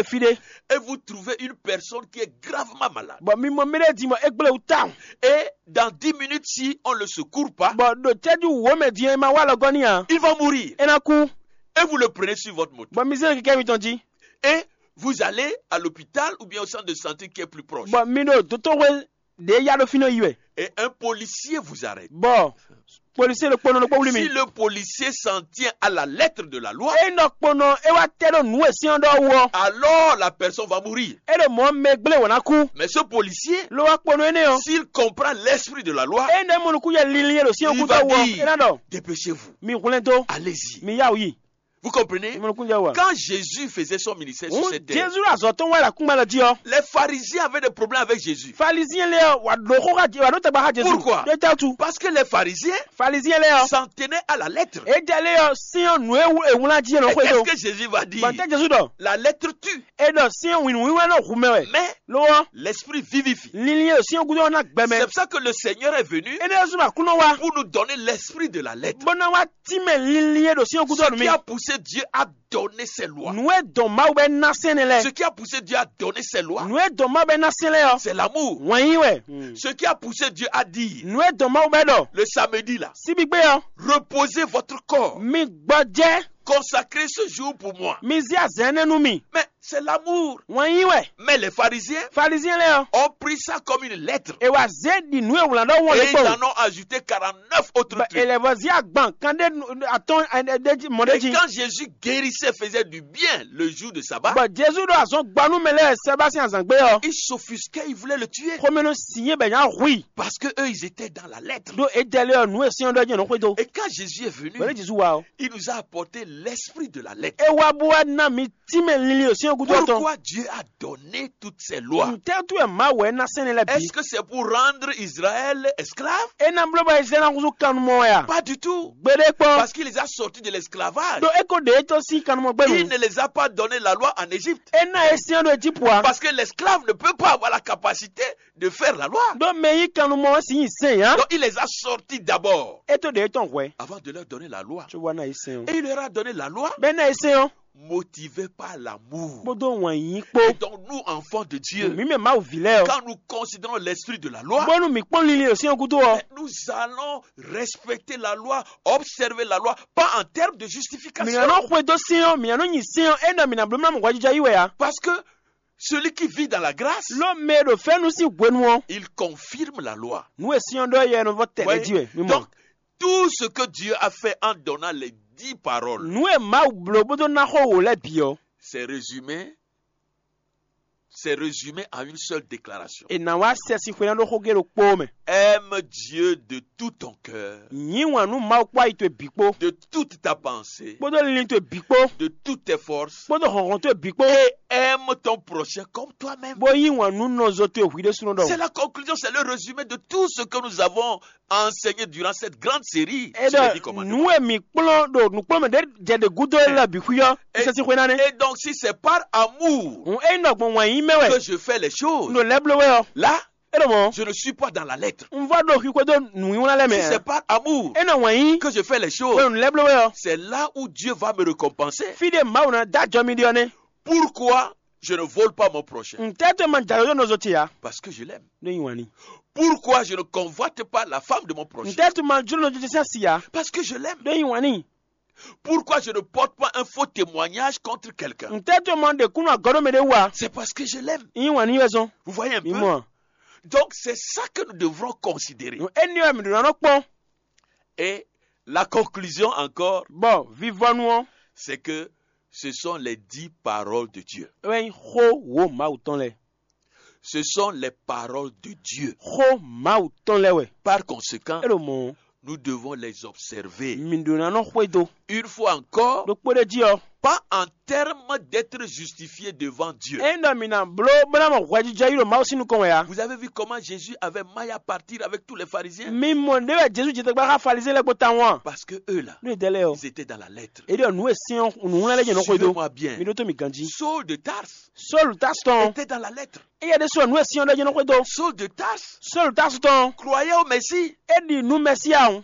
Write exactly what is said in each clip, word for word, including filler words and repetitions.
fí ɖé, et vous trouvez une personne qui est gravement malade. Bɔ mi mɔ mɛɖé din bɔ é gblé wú tawun. Et dans dix minutes, si on ne le secourt pas, Bɔ ɖo cɛ́jú wǒ mɛ din ɔ́, é ma wá lɔ gɔ́ n'i ǎ. Il va mourir. É ná kú. Et vous le prenez sur votre moto. Bɔ mi zé kɛkɛ́ mitɔn jí. Et vous allez à l'hôpital ou bien au centre de santé qui est plus proche. Bɔ mi ɖo dotó hwe ɖě ya ɖo fínɛ́ yi wɛ. Et un policier vous arrête. Bɔ policier ɖo kponɔ ɖokpó wlí mi. Si le policier s'en tient à la lettre de la loi, É nɔ kponɔ é wá tɛ ɖo nǔ e sɛ́n ɔ́ ɖɔ wú ɔ́. Alors la personne va mourir. É ɖo mɔ̌ mɛ gblé wǒ ná kú. Mais ce policier, Ló wá kponɔ énɛ́ ɔ́. S'il comprend l'esprit de la loi, É nɔ mɔ nukú yɛ linlin e ɖo sɛ́n ɔ́ il gúdo va wú ɔ́. dire, É ná ɖɔ. Dépêchez-vous. Mi hwlɛ́n dó. Allez-y. Mi yá wǔ yi. Vous comprenez? Mi mɔ nukún jɛ wú a. Quand Jésus faisait son ministère sur Hǔn cette terre, Jezu ɖo azɔ̌ tɔn wá ɖo akúngban lɔ jí ɔ́. Les Pharisiens avaient des problèmes avec Jésus. Faliziyɛn lɛ́ɛ ɔ́, wǎ ɖǒ xó xá Je- wǎ ɖǒ tagba xá Jezu. Pourquoi? Ɖó é tɛ́ wútu. Parce que les Pharisiens Faliziyɛn lɛ́ɛ ɔ́. S'en tenaient à la lettre. É jɛ lé ɔ́, sín ɔ́ nǔ e wú- è wlán jí é nɔ Et xwedó. Qu'est-ce que Jésus va dire? Bɔ tɛ́ Jezu ɖɔ. La lettre tue, É ɖɔ sín ɔ́ wǐnú wíwá nɔ hu mɛ wɛ. Mais Lo ɔ́, l'esprit vivifie. Linlin e ɖo sín ɔ́ gúdo ɔ́ ná gbɛ mɛ. C'est pour ça que le Seigneur est venu Énɛ́ ɔ́ sú ɖo Aklúnɔ wá. Pour nous donner l'esprit de la lettre. Bó ná wá tínmɛ linlin e ɖo sín ɔ́ gúdo Ce nú qui mì. A poussé Dieu à donner ses lois. Nǔ e dɔn Mawu bɛ ná sɛn nɛ lɛ. Ce qui a poussé Dieu à donner ses lois, Nǔ e dɔn Mawu bɛ ná sɛn lɛ ɔ́. C'est l'amour. Wɛn yí wɛ. Ce qui a poussé Dieu à dire, Nǔ e dɔn Mawu bɛ ɖɔ. Le samedi là, Síbígbé ɔ́. Reposez votre corps. Mi gbɔjɛ. Consacrez ce jour pour moi. Mi zí azɛ̌ énɛ́ nú mì. Mais c'est l'amour. Wɛn yí wɛ. Mais les Pharisiens Faliziyɛn lɛ́ɛ ɔ́. Ont pris ça comme une lettre. È wǎ zé ɖi nǔ e wlǎn ɖɔ wɔn Et lé ils kpɔ́n. En ont ajouté quarante-neuf autres Bɔ trucs. È lɛ́ vɔ zí agban kan ɖé atɔ́n ɖé jí mɔ ɖé Et jí. Quand Jésus guérissait, faisait du bien le jour de sabbat, Bɔ Jezu ɖo azɔn gba nú mɛ lɛ́ɛ sɛba sín azǎn gbé ɔ́. Ils s'offusquaient, ils voulaient le tuer. Xomɛnu si yé bɛ nya hu i. Parce que eux, ils étaient dans la lettre. Ɖó é jɛ lé ɔ́ nǔ e syɛ́n ɖɔ jɛ́n nɔ xwedó. Et quand Jésus est venu, Bɔ ní Jezu wá ɔ́. Il nous a apporté l'esprit de la lettre. É wá bó wá ná mi tínmɛ linlin ɖo syɛ́n gúdo ɔ́ tɔn. Pourquoi Dieu a donné toutes ces lois? Ntɛ́tú wɛ Mawu wɛ ná sɛn lɛ bǐ. Est-ce que c'est pour rendre Israël esclave? É ná bló bɔ Izlayɛ́li ná húzú kannumɔ wɛ a? Pas du tout. Gbeɖé kpɔ́n. Parce qu'il les a sortis de l'esclavage. Ɖó é ko ɖe é tɔn sín kannumɔ gbé Il nu. Ne les a pas donné la loi en Égypte. É ná é syɛ́n ɖo Ejípu a. Parce que l'esclave ne peut pas avoir la capacité de faire la loi. Ɖó mɛ yí kannumɔ ɔ́ sin nyi sɛn ǎ. Donc il les a sortis d'abord É tó ɖe é tɔn hwɛ̌. Avant de leur donner la loi. Có wá ná é sɛn ɔ́. Et il leur a donné la loi Bɛ́ ná é sɛn ɔ́. Motivé par l'amour. Kpódó wǎn yíyí kpó. Et donc nous, enfants de Dieu, Mǐ mɛ Mawu vǐ lɛ́ɛ ɔ́. Quand nous considérons l'esprit de la loi, Bónú mǐ kpɔ́n linlin ɖo syɛ́n gúdo ɔ́. Nous allons respecter la loi, observer la loi, pas en termes de Mǐ justification. ná nɔ xwedó syɛ́n ɔ́, mǐ ná nɔ nyi syɛ́n ɔ́, é nɔ mǐ ná bló ná mɔ hwɛjijɛ yí wɛ a. Parce que celui qui vit dans la grâce, Ló mɛ e ɖo fɛ́nú sín hwenu ɔ́. Il confirme la loi. Nǔ e syɛ́n ɔ́ ɖɔ yɛ nɔ vɔ tɛnɛ jí wɛ. Mi mɔ. Donc, tout ce que Dieu a fait en donnant les dix paroles, Nǔ e Mawu bló bó dó ná xó wǒ lɛ́ɛ bǐ ɔ́. C'est résumé, c'est résumé en une seule déclaration. È nǎ wá sɛ sín xwé ná ɖó xógé ɖokpó mɛ. Aime Dieu de tout ton cœur, Nyǐ wǎn nú Mawu kpó ayi towe bǐ kpó. De toute ta pensée, Kpódó linlin towe bǐ kpó. De toutes tes forces, Kpódó hɔnhɔn towe bǐ kpó. Et aime ton prochain comme toi-même. Bó yí wǎn nú nɔzo towe hwǐ ɖésúnɔ ɖɔ. C'est la conclusion, c'est le résumé de tout ce que nous avons enseigné durant cette grande série. Sur les dix Eɖɔ commandements. Nǔ e mǐ kplɔ́n ɖo nǔkplɔ́nmɛ ɖé jɛ ɖe gúdo é lɛ bǐ xwí ɔ́. Sɛ sín xwé ná nɛ́. Et donc, si c'est par amour Hǔn é nɔ gbɔn wǎn yí mɛ wɛ. Que je fais les choses, Nɔ lɛ́ bló wɛ ɔ́. Là, É ɖo mɔ. Je ne suis pas dans la lettre. Un vɔ ɖo xwixwe dó nǔnywíwlán lɛ́ɛ mɛ. Si c'est par amour É nɔ wǎn yí. Que je fais les Wɛ choses, nǔ lɛ́ bló wɛ ɔ́. C'est là où Dieu va me récompenser. Fí ɖé Mawu ná dó ajɔ mi ɖe ɔ́ nɛ́. Pourquoi je ne vole pas mon prochain? Ntɛ́ tó ma jǎ yó nɔzo ce ǎ. Parce que je l'aime. Ɖó nyi wǎn ni. Pourquoi je ne convoite pas la femme de mon prochain? Ntɛ́ tó ma jló nɔzo ce sín asi ǎ. Parce que je l'aime. Ɖó nyi wǎn ni. Pourquoi je ne porte pas un faux témoignage contre quelqu'un? Ntɛ́ tó ma ɖe kúnnu agɔ̌ ɖó mɛ ɖé wú ǎ. C'est parce que je l'aime. Nyi wǎn ni wɛ zɔn. Vous voyez un Mi peu? mɔ. Donc c'est ça que nous devrons considérer. Éni wɛ mi ɖo nɔ kpɔn. Et la conclusion encore, Bɔ vivɔnu ɔ́. C'est que ce sont les dix paroles de Dieu. Wɛ nyi xó wo Mawu tɔn lɛ. Ce sont les paroles de Dieu. Xó Mawu tɔn lɛ wɛ. Par conséquent, É ɖo mɔ. Nous devons les observer. Mi ɖo ná nɔ xwedó. Une fois encore, Ɖokpó ɖé jí ɔ. Pas en termes d'être justifié devant Dieu. É ɖɔ mi ná bló bó ná mɔ hwɛjijɛ yi ɖo Mawu sín nukɔn wɛ a. Vous avez vu comment Jésus avait maille à partir avec tous les pharisiens? Mi mɔ ɖé wɛ Jezu jɛ tagba xá Falizɛn lɛ́ɛ kpó tawun a. Parce que eux là, Nú ìdɛlɛ ɔ. Ils étaient dans la lettre. É ɖɔ nǔ e syɛ́n nǔwlán lɛ́ɛ jɛ nɔ xwedó. Suivez-moi bien. Mi ɖó tó mi ganjí. Saul de Tarse Sɔlu Tasu tɔn. Était dans la lettre. Éyɛ́ ɖésú ɔ nǔ e syɛ́n ɖɔ jɛ nɔ xwedó. Saul de Tarse Sɔlu Tasu tɔn. Croyait au Messie. É ɖi nǔ Mɛsíya ɔ́.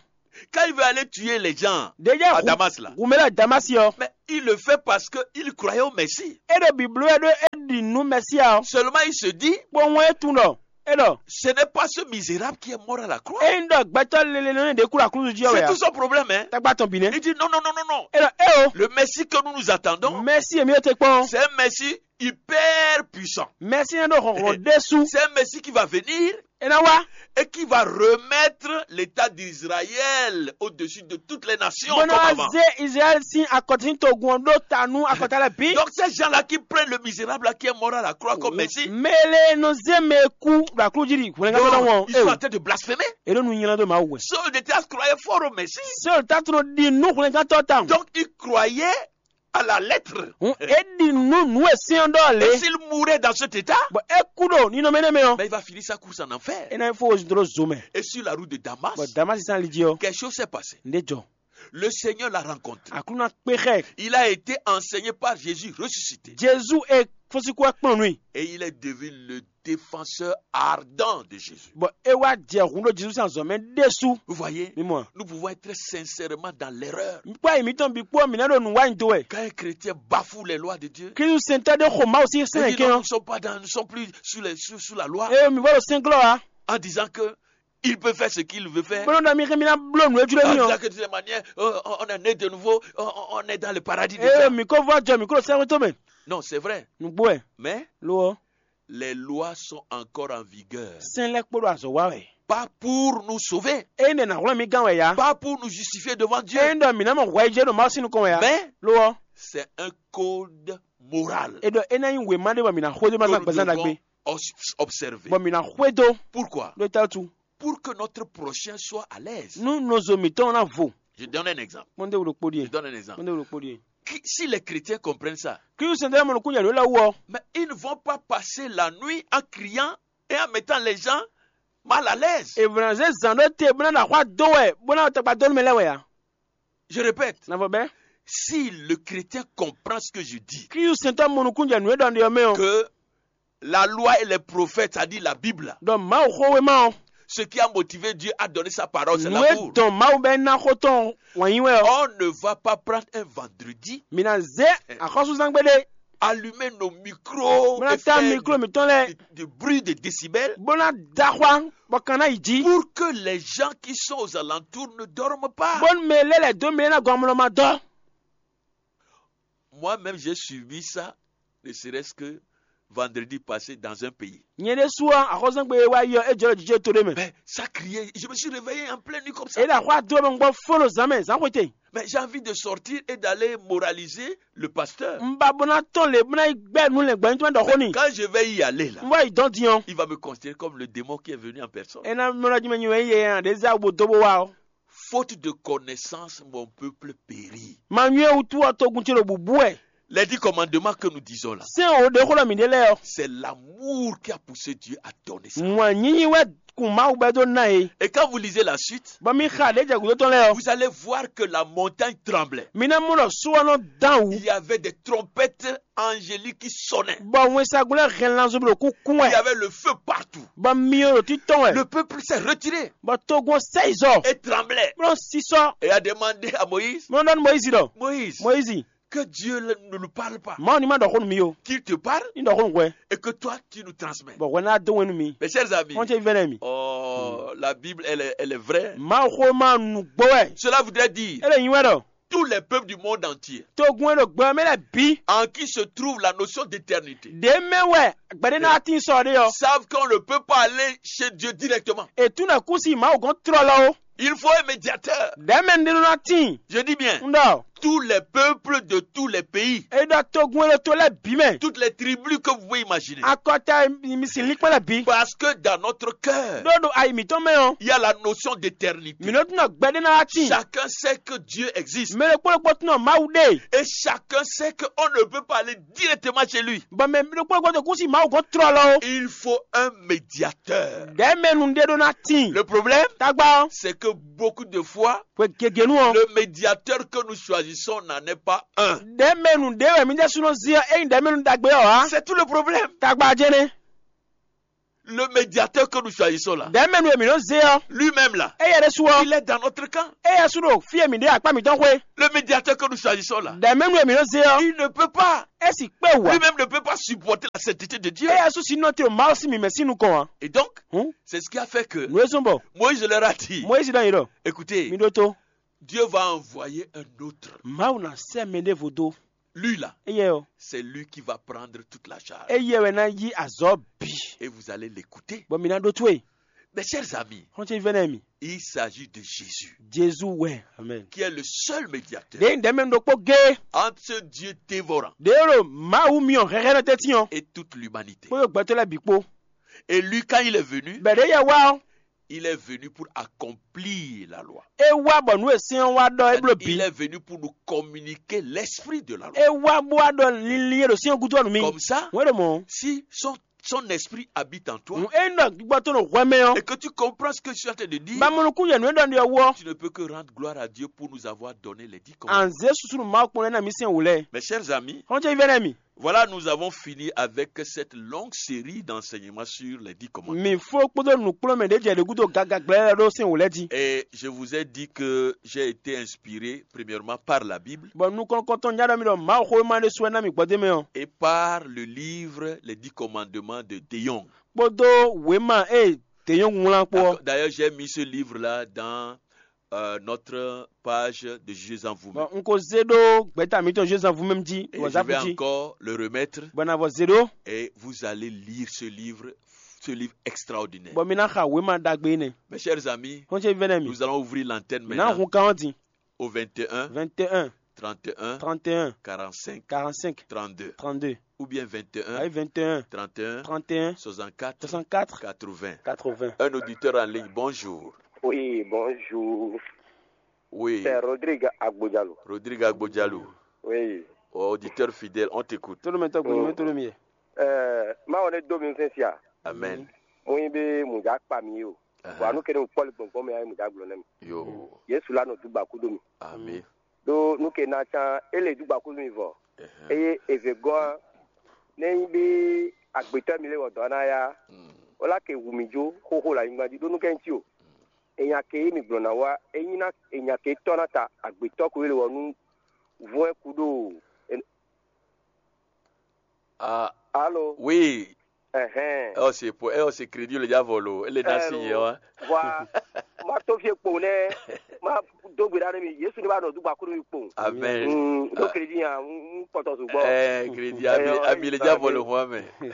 Quand il veut aller tuer les gens, déjà à Damas là, gumela damasi ɔ. Mais il le fait parce que il croyait au Messie. E ɖo biblu wɛ ɖo e ɖi nú mɛsia ɔ. Seulement il se dit, bó wɔn e tun ɖɔ, e ɖɔ, ce n'est pas ce misérable qui est mort à la croix. E ŋ ɖɔ gbɛtɔ lele nɔ ne ɖe kú ɖo aklúzu jí ɔ. C'est wɛ tout son problème, hein. Tagba tɔn bi nɛ. Il dit non, non, non, non, non. E ɖɔ e o. Le Messie que nous nous attendons, mɛsi emi e te kpɔn, c'est un Messie hyper puissant. Mɛsi ne ɖo hɔnhɔn ɖésú. C'est un Messie qui va venir, e ná wá, et qui va remettre l'État d'Israël au-dessus de toutes les nations, bó ná comme wá avant. Zé israɛl sín akɔta sín togun ɔ́ ɖó ta nú akɔta lɛ́ɛ bǐ. Donc ces gens-là qui prennent le misérable là qui est mort à la croix comme Messie, mɛ lɛ nɔ zé mɛ e kú ɖo aklúzu jí ɖi hwlɛngán tɔn wọn. Ils sont en train de blasphémer. E ɖo nu nylá dó Mawu wɛ. Sɔ́ ɖe te croyait fort au Messie. Sɔ́ ta tɔn ɖi nú hwlɛngán tɔn tawun. Donc il croyait à la lettre. Hun e ɖi nú nǔ e sɛ́n ɔ́ ɖɔ lě. Et s'il mourait dans cet état, bɔ é kú ɖo ninɔmɛ énɛ́ mɛ ɔ́, mais il va finir sa course en enfer. É ná fó zun dó zo mɛ. Et sur la route de Damas, bɔ Damasi sín ali jí ɔ́, Quelque chose s'est passé. Nǔɖé jɔ. Le Seigneur l'a rencontré. Aklúnɔ kpé xɛ. Il a été enseigné par Jésus ressuscité. Jezu e fɔ́síkú wá kplɔ́n nú i. Et il est devenu le défenseur ardent de Jésus. Bɔ é wá jɛ hun ɖó Jezu sín azɔ̌ mɛ ɖésú. Vous voyez, mi mɔ. Nous pouvons être sincèrement dans l'erreur. Kpɔ́ ayi mǐtɔn bǐ kpó mǐ ná ɖo nǔ wa nyi do wɛ. Quand un chrétien bafoue les lois de Dieu, Kristu sɛntɔ́ ɖé xo Mawu sín sɛ́n kɛn ɔ́. Nous ne sommes pas dans, nous ne sommes plus sous, les, sous, sous la loi. Eye mǐ vɔ ɖo sɛnglɔ́ ǎ. En disant que il peut faire ce qu'il veut faire. Bó nɔ́ ɖɔ mí xé mí ná bló nǔ e jló mì ɔ́. Que de manière, euh, on est né de nouveau, on, on est dans le paradis déjà. Eye mǐ ko vɔ jɔ mǐ kó ɖo sɛ́xwé tɔn mɛ. Non, c'est vrai. Nǔgbó wɛ. Mais lo ɔ́, les lois sont encore en vigueur. Sɛ́n lɛ́ɛ kpo ɖo azɔ̌ wa wɛ. Pas pour nous sauver. Ényí ɖe nǎ hwlɛ́n mí gán wɛ ya. Pas pour nous justifier devant Dieu. Ényí ɖɔ mǐ ná mɔ hwɛ jɛ ɖo Mawu sín nukɔn wɛ ya. Mais lo ɔ́, c'est un code moral. E ɖɔ é ná nyí wěma ɖé bɔ mǐ ná xwedó ma zán gbɛzán ɖagbe. Observer. Bɔ mǐ ná xwedó. Pourquoi? Ɖó é ta wútu. Pour que notre prochain soit à l'aise. Nú nɔzo mǐtɔn ná vo. Je donne un exemple. Kpɔ́ndé wúɖokpó ɖíe. Je donne un exemple. Kpɔ́ndé wúɖokpó ɖíe. Qui, si les chrétiens comprennent ça, Kristu sɛntɔ́ mɔ nukún yɛ ló lɛ́ wú ɔ. Mais ils ne vont pas passer la nuit en criant et en mettant les gens mal à l'aise. È vlɔn zé zǎn ɖó te bó ná ɖo axwá dó wɛ bó ná tɔkpa dó nú mɛ lɛ́ɛ wɛ ǎ. Je répète. Navɔ bɛ́. Si le chrétien comprend ce que je dis, Kristu sɛntɔ́ mɔ nukún jɛ nǔ e ɖɔ ɖe ɔ́ mɛ ɔ́. Que la loi et les prophètes, c'est-à-dire la Bible, ɖɔ Mawu xówéma ɔ́. Ce qui a motivé Dieu à donner sa parole, c'est l'amour. Nǔ e dɔn Mawu bɛ́ ná xó tɔn wǎn yí wɛ ɔ́. On ne va pas prendre un vendredi, mǐ ná zé axɔ́súzán gbeɖé. Allumer nos micros, bó ná ta mikro mǐtɔn lɛ́ɛ. De, de bruit de décibels, bó ná da xwá bɔ kan ná yi jí. Pour que les gens qui sont aux alentours ne dorment pas. Bónú mɛ lɛ́ lɛ̌ dó mɛ ná gɔn amlɔ ma dɔ́. Moi-même, j'ai suivi ça, ne serait-ce que vendredi passé dans un pays. Nyɛ ɖésú ɔ́, axɔ́súzán gbe e wá yi ɔ́, é jɔ ɖo jijɛ to ɖé mɛ. Mais ça criait, je me suis réveillé en pleine nuit comme ça. É ɖo axwá dó mɛ gbɔ fó ɖo zǎn mɛ zǎn xwete. Mais j'ai envie de sortir et d'aller moraliser le pasteur. Un ba bó ná tɔn lě bó ná yi gbɛ́ nú lɛ̌ngbɔ́nyitɔ́ mɛ ɖɔ xó n'i. Quand je vais y aller là, un va yi dɔn din ɔ́, il va me considérer comme le démon qui est venu en personne. É ná mlɔ́ jí mɛ nyi wɛ yɛ ɖě zá bo dó bó wá ɔ́. Faute de connaissance, mon peuple périt. Ma nywɛ́ wútu ɔ́ togun ce ɖo bǔbú wɛ. Les dix commandements que nous disons là, sɛ́n o ɖě xó ɖɔ mǐ ɖe lɛ́ɛ ɔ́. C'est l'amour qui a poussé Dieu à donner ça. Wǎn nyínyí wɛ kun Mawu bɛ́ dó ná e. Et quand vous lisez la suite, bɔ mi xa ɖě jɛ gǔdo tɔn lɛ́ɛ ɔ́. Vous allez voir que la montagne tremblait. Mi ná mɔ ɖɔ sú ɔ́ nɔ dán wǔ. Il y avait des trompettes angéliques qui sonnaient. Bɔ wɛnsagun lɛ́ɛ hɛn lanzun ɖo kúkún wɛ. Il y avait le feu partout. Bɔ myɔ ɖo títɔn wɛ. Le peuple s'est retiré. Bɔ togun ɔ́ sɛ yi zɔ. Et tremblait. Bó nɔ sisɔ. Et a demandé à Moïse, bó nɔ ɖɔ nú Moyizi ɖɔ. Moïse, Moyizi, que Dieu ne nous parle pas. Mawu ní ma ɖɔ xó nú mi o. Qu'il te parle. Ní ɖɔ xó nú hwɛ. Et que toi, tu nous transmets. Bɔ hwɛ ná dó wɛn nú mi. Mes chers amis, xɔ́n ce vɛ́nɛ mi. Oh, la Bible, elle est, elle est vraie. Mawu xó ma nǔgbó wɛ. Cela voudrait dire, é lè nyi wɛ ɖɔ, tous les peuples du monde entier, togun e ɖo gbɛ ɔ́ mɛ lɛ́ɛ bǐ, en qui se trouve la notion d'éternité, ɖě mɛ wɛ gbɛɖé ná tín sɔ ɖé ɔ́, savent qu'on ne peut pas aller chez Dieu directement. È tún ɖɔ kú si Mawu gɔ́n tlɔlɔ ó. Il faut un médiateur. Ɖɛ̌ mɛ ɖé nɔ ná tíin. Je dis bien, un ɖɔ, tous les peuples de tous les pays, é ɖɔ togun e ɖo to lɛ́ɛ bǐ mɛ, toutes les tribus que vous pouvez imaginer, akɔta e mi sin línkpɔ́n lɛ́ɛ bǐ. Parce que dans notre cœur, ɖó ɖo ayi mǐtɔn mɛ ɔ́, il y a la notion d'éternité. Mǐ nɔ tún ɖɔ gbɛɖé ná wá tíin. Chacun sait que Dieu existe. Mɛ ɖokpó ɖokpó tún ɖɔ Mawu ɖe. Et chacun sait qu'on ne peut pas aller directement chez lui. Bɔ mɛ ɖokpó ɖokpó ɖo kú si Mawu gɔ́n tlɔlɔ ó. Il faut un médiateur. Ɖɛ̌ mɛ nu ɖé ɖó ná tíin. Le problème, tagba ɔ́, c'est que beaucoup de fois, hwe gěgé nu ɔ́, le médiateur que nous choisissons n'en est pas un. Ɖɛ̌ mɛ nu ɖé wɛ mǐ ɖésú nɔ zí ɔ́, ényí ɖɛ̌ mɛ nu ɖagbe ɔ́ ǎ. C'est tout le problème. Tagba jɛnɛ. Le médiateur que nous choisissons là, Ɖɛ̌mɛnu e mǐ nɔ zé ɔ́, lui-même là, éyɛ́ ɖésú ɔ́, il est dans notre camp. Éyɛ́ sú ɖo fí e mǐ ɖe akpá mǐtɔn xwé. Le médiateur que nous choisissons là, Ɖɛ̌mɛnu e mǐ nɔ zé ɔ́, il ne peut pas. É sì kpé wǔ ǎ. Lui-même ne peut pas supporter la sainteté de Dieu. Éyɛ́ sú sí nɔ te ɖo Mawu sín mǐmɛ́ sín nukɔn ǎ. Et donc, hǔn, c'est ce qui a fait que nǔ e zɔ́n bɔ Moïse leur a dit, Moyízi ɖɔ nyi ɖɔ, "Écoutez, mi ɖótó, Dieu va envoyer un autre. Mawu ná sɛ́ mɛ ɖěvo dó. Lui là, Éyɛ́ ɔ́, c'est lui qui va prendre toute la charge. Éyɛ́ wɛ ná yí azɔ̌ bǐ. Et vous allez l'écouter." Bɔ mi ná ɖótó e. Mes chers amis, Xɔ́nce vɛ́nɛ mi. Il s'agit de Jésus, Jezu wɛ. Amen. Qui est le seul médiateur, Ɖěe ɖɛ̌mɛnu ɖokpó gé entre ce Dieu dévorant ɖě ɖo Mawu myɔ hɛhɛ́nɔ tɛ́ntin ɔ́, Et toute l'humanité. Kpódó gbɛtɔ́ lɛ́ɛ bǐ kpó. Et lui, quand il est venu, Bɛ̌ ɖě yɛ wá ɔ́, il est venu pour accomplir la loi. É wá bɔ nǔ e sɛ́n ɔ́ wá ɖɔ é bló bǐ. Il est venu pour nous communiquer l'esprit de la loi. É wá bó wá ɖɔ linlin e ɖo sɛ́n ɔ́ gúdo ɔ́ nú mì. Comme ça, Wɛn ɖo mɔ̌. Si son, son esprit habite en toi, Nǔ e nɔ gbígbɔ tɔn ɖo hwɛ mɛ ɔ́, Et que tu comprends ce que je suis en train de dire, Ba mɔ nukún yɛ nǔ e ɖɔ ɖe ɔ́ wú ɔ́. Tu ne peux que rendre gloire à Dieu pour nous avoir donné les dix commandements. Anzě susu nǔ Mawu kpɔ́n lɛ́ɛ ná mì sɛn wǔ lɛ́ɛ. Mes chers amis, Xɔ́nce vɛ́nɛ mi. Voilà, nous avons fini avec cette longue série d'enseignements sur les dix commandements. Mǐ fó kpódó nǔkplɔ́nmɛ ɖě jɛ ɖě gúdo gaga gblɛ́ lɛ́ɛ ɖó sɛn wǒ lɛ́ɛ jí. Et je vous ai dit que j'ai été inspiré premièrement par la Bible Bɔ nukɔn kɔntɔn nya ɖɔ mi ɖɔ Mawu xó e ma ɖésú wɛ ná mi gbɔdé mɛ ɔ́, et par le livre Les dix commandements de De Jong. Kpódó wěma e dě nyɔ́ wlán kpó ɔ́. D'ailleurs, j'ai mis ce livre-là dans euh, notre page de Jugez en vous-même. Bɔ un ko zé ɖó gbɛ̌ta mǐtɔn Jézanvu mɛ́ jí Et ɖo je vais azáku jí, encore le remettre bɔ na vɔ zé ɖó, et vous allez lire ce livre, ce livre extraordinaire. Bɔ mi ná xa wěma ɖagbe énɛ́. Mes chers amis, Xɔ́nce vɛ́nɛ mi. Nous allons ouvrir l'antenne Ná maintenant hun kan ɔ́ din. Au vingt et un, vingt et un, trente et un, trente et un, quarante-cinq, quarante-cinq, trente-deux, trente-deux, ou bien vingt et un, ayi vingt et un, trente et un, trente et un, soixante-quatre, soixante-quatre, quatre-vingts. Quatre-vingts. Un auditeur en ligne, bonjour. Oui, bonjour. Oui. C'est Rodrigue Agbodjalo. Rodrigue Agbodjalo. Oui. Auditeur fidèle, on t'écoute. Tolomɛ tɔgbo ni mɛ tolomi yɛ. Eh, ma wɔn ne do mi fɛn sia. Amen. Mo yin be mo ja kpa mi o. Aha. Wa nu kene kpɔli gbɔngbɔn mi ayi mo ja gblɔ ne mi. Yo. Yesu la no dugba kudo mi. Amen. Do nu ke na can ele dugba kudo mi vɔ. Aha. Eye eve gɔn ne yin be agbetɔ mi le wɔ dɔ na ya. Mm. Ola ke wu mi jo xoxo la nyigba di do nu ke nti o. Enya ke yi mi gblɔ na wa, enyi na enya ke tɔ na ta agbetɔ ko ele wɔ nu vɔn ku do. Ah, Alo. Oui. Ɛhɛn. Ɛ ɔ se po, ɛ ɔ se crédit le ja vɔ lo, ele na si yɛ wa. Wa. Ma to fie kpo nɛ. Ma do gbe da ne mi. Yesu ne ba nɔ du gba kuru mi kpo. Amen. Mm, do crédit ya, un kpɔtɔ su gbɔ. Eh, crédit, eh, ami, ami le ja vɔ lo hɔn mɛ. Eh,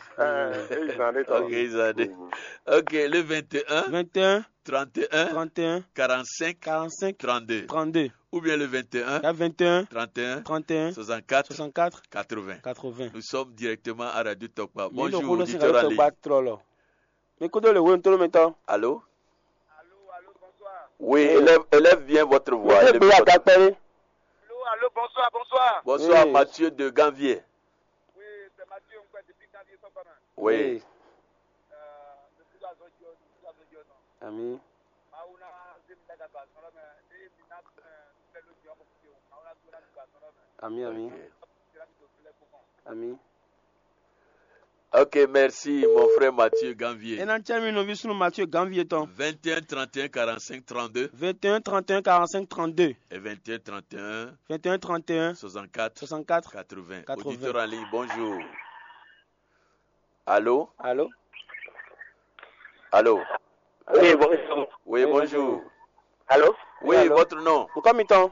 eh, zan de tɔ. Ok, zan de. Mm. Ok, le vingt et un. Vingt et un. Trente et un, trente et un, quarante-cinq, quarante-cinq, trente-deux, trente-deux, ou bien le vingt et un, il y a vingt et un, trente et un, trente et un, soixante-quatre, soixante-quatre, quatre-vingts. Quatre-vingts. Nous sommes directement à Radio Tokpa. Bonjour, auditeur en ligne. Allô? Oui, élève, élève bien votre voix. Allô, allô, bonsoir, bonsoir. Bonsoir, oui. Mathieu de Ganvier. Oui, c'est Mathieu, on peut depuis Ganvier, ça va. Oui. Oui. Ami. Ami, ami. Ok, merci, mon frère Mathieu Ganvier. E na cɛ mi nɔvi sunu Mathieu Ganvier tɔn. Vingt et un, trente et un, quarante-cinq, trente-deux. Vingt et un, trente et un, quarante-cinq, trente-deux. Et vingt et un, trente et un, vingt et un, trente et un, soixante-quatre, soixante-quatre, quatre-vingts. Quatre-vingts. Auditeur en ligne, bonjour. Allô? Allô? Allô? Oui, bonjour. Oui, bonjour. Allô? Oui, votre nom? Nukɔ mitɔn.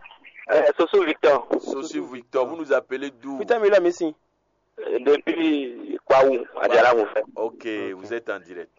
Euh, Soso Victor. Soso Victor, vous nous appelez d'où? Putain, mi lɔ mi si. Euh, depuis Kwaou, à Djala, mon frère. Ok, vous êtes en direct.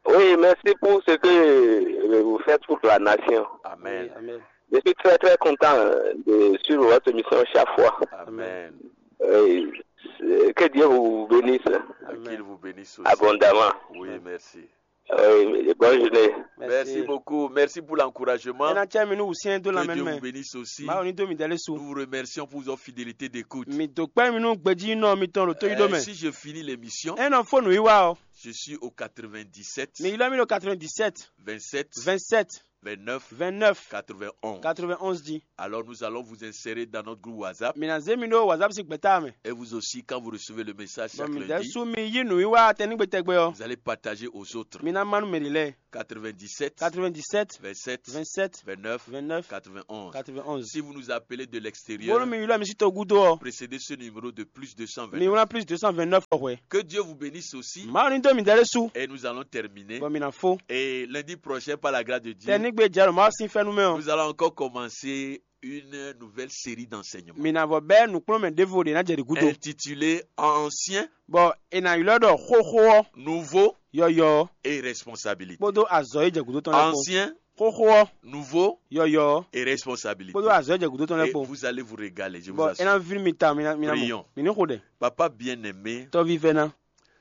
Oui, merci pour ce que euh, vous faites pour la nation. Amen. Oui, amen. Je suis très, très content euh, de suivre votre émission chaque fois. Amen. Oui, c'est- que Dieu vous bénisse. Amen. Qu'il vous bénisse aussi. Abondamment. Oui, merci. Oui, bonne journée. Merci beaucoup. Merci pour l'encouragement. E na cɛ mi nu wusiɛn do Que lamɛn Dieu vous mɛ. Bénisse aussi. Mawu ni do mi dɛlɛ su. Nous vous remercions pour votre fidélité d'écoute. Mi do kpɛ mi nu gbeji nɔ mi tɔn lo to yi do Euh, mɛ. Si je finis l'émission, E nɔ fo nu yi wa o. Je suis au quatre-vingt-dix-sept, Mi yi lɔ mi lo quatre-vingt-dix-sept, vingt-sept, vingt-sept, 29 29 91. 91 jí. Alors nous allons vous insérer dans notre groupe WhatsApp. Mi ná zé mi ɖó WhatsApp sín gbɛ̌ta mɛ. Et vous aussi, quand vous recevez le message Bɔ chaque mi ɖɛ́ lundi, sú mi yí nǔwiwa tɛnígbe tɛgbɛ ɔ́, vous allez partager aux autres. mi ná má nú mɛ ɖě lɛ́ɛ. 97 97 27 27 29 29 91. 91. Si vous nous appelez de Bónú l'extérieur, mi ylɔ́ mi sí togudo ɔ́, précédez ce numéro de plus mi 229. wlán plus 229 ɔ́ hwɛ. Que Dieu vous bénisse aussi. Mawu ní dó mi dɛ́ ɖé sú. Et nous allons terminer. Bɔ mi ná fó. Et lundi prochain, par la grâce de Dieu, Tɛnígbe jɛ ɖo Mawu sín fɛ́nú mɛ ɔ́, nous allons encore commencer une nouvelle série d'enseignements mi ná vɔ bɛ́ nǔkplɔ́nmɛ ɖěvo ɖě ná jɛ ɖě gúdo. Intitulée Ancien Bɔ è nǎ ylɔ́ ɖɔ xóxó ɔ́, Nouveau yɔyɔ ɔ́, et Responsabilité. Kpódó azɔ̌ e jɛ gǔdo tɔn lɛ́ɛ kpó. Ancien, Xóxó ɔ́, Nouveau yɔyɔ ɔ́, et Responsabilité. Kpódó azɔ̌ e jɛ gǔdo tɔn lɛ́ɛ Et kpó. Vous allez vous régaler, je vous Bɔ é ná assure. ví mi ta mi ná mi ná mɔ. Prions. Mi ní xo ɖɛ. Papa bien-aimé, Tɔ́ví vɛ́ná,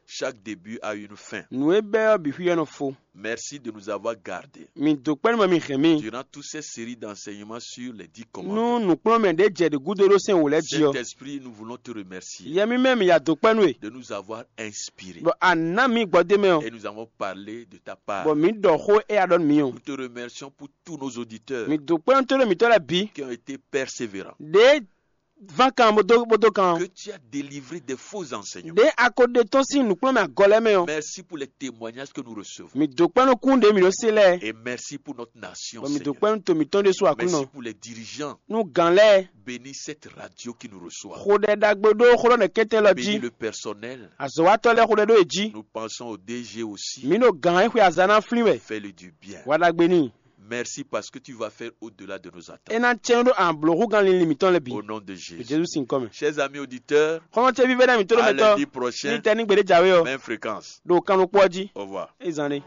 chaque début a une fin. nǔ e bɛ́ ɔ́ bǐ xwí ɔ́ nɔ fo. Merci de nous avoir gardés. Mi dǒ kpɛ́ nú mɛ mi hɛn mì. Durant toutes ces séries d'enseignements sur les dix Nú commandements. Nǔkplɔ́nmɛ ɖě jɛ ɖě gúdo ɖó sɛn wǒ lɛ́ɛ jí ɔ́. Saint-Esprit, nous voulons te remercier Yɛ mímɛ́ mi ya dǒ kpɛ́ nú e. De nous avoir inspirés. Bɔ a nǎ mi gbɔdé mɛ ɔ́. Et nous avons parlé de ta part. Bɔ mǐ ɖɔ xó éya ɖɔ nú mi ɔ́. Nous te remercions pour tous nos auditeurs Mi dǒ kpɛ́ nú tóɖó mǐtɔn lɛ́ɛ bǐ. Qui ont été persévérants. Ɖě ván kan bó dó bó dó kan ɔ́. Que tu as délivré des faux enseignements. Ɖě a ko ɖe tɔ́n sín nǔkplɔ́nmɛ agɔ lɛ́ɛ mɛ ɔ́. Merci pour les témoignages que nous recevons. Mi dǒ kpɛ́ nú kún ɖě mǐ ɖó se lɛ́ɛ. Et merci pour notre nation, Bɔ mi dǒ Seigneur. Kpɛ́ nú to mǐtɔn ɖésú Aklúnɔ. Merci pour les dirigeants. Nú gǎn lɛ́ɛ. Bénis cette radio qui nous reçoit. Xo ɖɛ ɖagbe ɖó xó ɖɔ nɛkɛntɛn lɔ Bénis jí. Le personnel. Azɔ̌watɔ́ lɛ́ɛ xo ɖɛ ɖó e jí. Nous pensons au D G aussi. Mǐ ɖo gǎn e xwe azǎn ná flín wɛ. Fais-le du bien. Wa ɖagbe n'i. Merci parce que tu vas faire au-delà de nos É attentes. ná cɛ́n ɖó an blǒ hú gán linlin mǐtɔn lɛ́ɛ bǐ. Au nom de Ɖo Jésus. Jezu sín kɔ mɛ. Chers amis auditeurs, Xɔ́mɔ ce vívɛ́ ná mǐtɔn à ɖo mɛtɔn. Lundi prochain, Ní tɛ ní gbeɖé jǎwe ɔ. Même fréquence. Ɖo kannukpɔ́ jí. Au revoir. É zan ɖé.